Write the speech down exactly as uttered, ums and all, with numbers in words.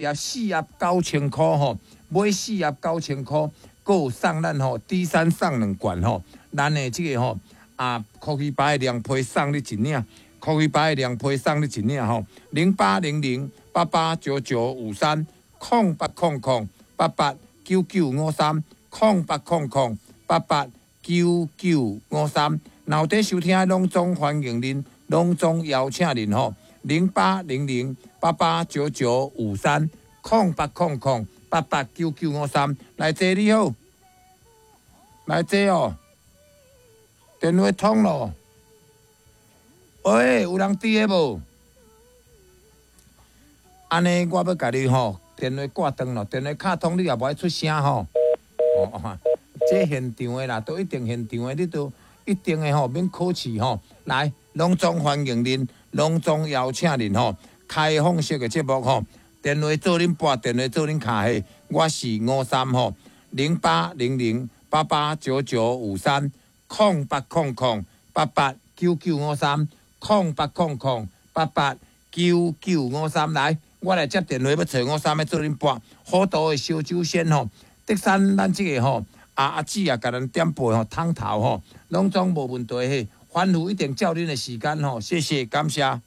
盒四盒九千箍吼，買四盒九千箍，閣有送咱吼 D 三送兩罐吼，咱的這個吼啊，科技白的涼皮送你一領，科技白的涼皮送你一領吼，零八零零八八九九五三，空八空空八八九九五三，空八空空八八九九五三，若有佇收聽，攏總歡迎恁，攏總邀請恁吼，零八零零八八九九五三，空八空空八八九九五三，來坐你好，來坐哦，電話通咯，喂，有人佇咧無？按呢，我欲共你吼，電話掛斷咯，電話敲通你也無愛出聲吼。哦，這現場的啦，都一定現場的，你都一定的吼，免客氣吼。來，攏總歡迎恁，攏總邀請恁吼，開放式的節目吼，電話做恁撥，電話做恁敲彼，我是吳三吼，零八零零八八九九五三，空八空空八八九九五三，空八空空八八九九五三，來，我來接電話，欲揣吳三欲做恁撥，好多的燒酒仙吼，竹山咱這個吼，阿阿姊啊，共咱點播吼，湯頭吼，攏總無問題嘿，反覆一定照恁的時間吼，謝謝，感謝。